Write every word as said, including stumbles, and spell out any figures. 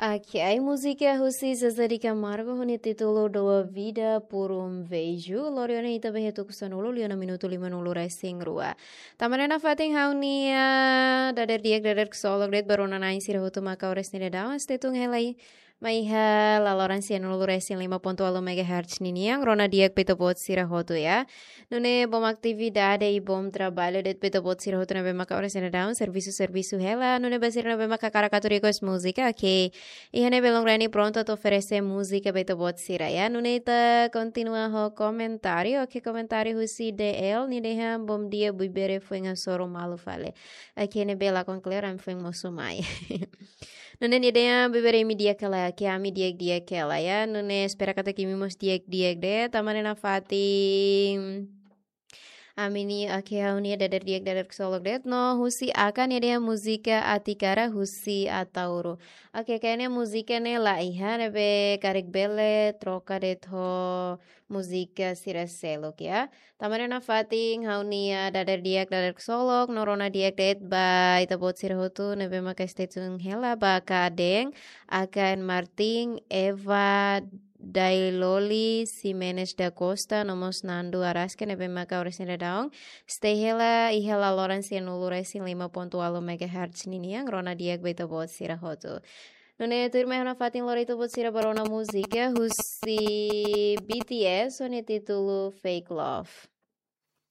Ok, múzika husi Zezé de Camargo ho nia títulu Dou a Vida por um Beijo. Lori ona ita ba iha tuku sanulu, liu ona minutu limanulu resin rua. Tanba ne'e nafatin ha'u-nia dadeer di'ak, dadeer ksolok de'it ba rona-na'in sira hotu mak oras ne'e daudaun stay tune hela mai iha laloran sianulu resin lima pontu ualu megahertz ninian, rona di'ak ba ita-boot sira hotu ya. Nune'e bom atividade i bom trabalho de'it ba ita-boot sira hotu ne'ebé maka oras ne'e daudaun servisu, servisu hela. Nune'e ba sira ne'ebé maka hakarak atu request múzika, ok. Iha ne'e Belong Reni prontu atu oferese múzika ba ita-boot sira ya. Nune'e ita kontinua ho komentáriu, ok, komentáriu husi D L, nia dehan bom dia Buibere, foin hasoru malu fali. Ok, ne'ebé lakon kleur, ami foin mosu mai. Nune'e nia dehan Buibere, imi di'ak hela, ok, ami di'ak-di'ak hela ya. Nune'e espera katak imi mós di'ak-di'ak de'it, tanba ne'e nafatin ami-nia, ok, ha'u-nia dadeer di'ak, dadeer ksolok de'it no husi Aka, nia dehan múzika Atikara husi Ataúro. Ok, kayaknya múzika ne'e la iha, ne'ebé karik bele troka de'it ho múzika sira seluk ya. Tanba ne'e nafatin ha'u-nia dadeer di'ak, dadeer ksolok no rona di'ak de'it ba ita-boot sira hotu ne'ebé maka stay tune hela ba Aka Adeng, Aka N Martin, Eva Dailoli, Ximenes da Costa, no mós Nando Araske ne'ebé maka oras ne'e daudaun stay hela iha laloran sianulu resin lima pontu ualu megahertz ninian, rona di'ak ba ita-boot sira hotu. Nune'e tuirmai ha'u nafatin lori ita-boot sira ba rona múzika husi B T S ho nia títulu Fake Love.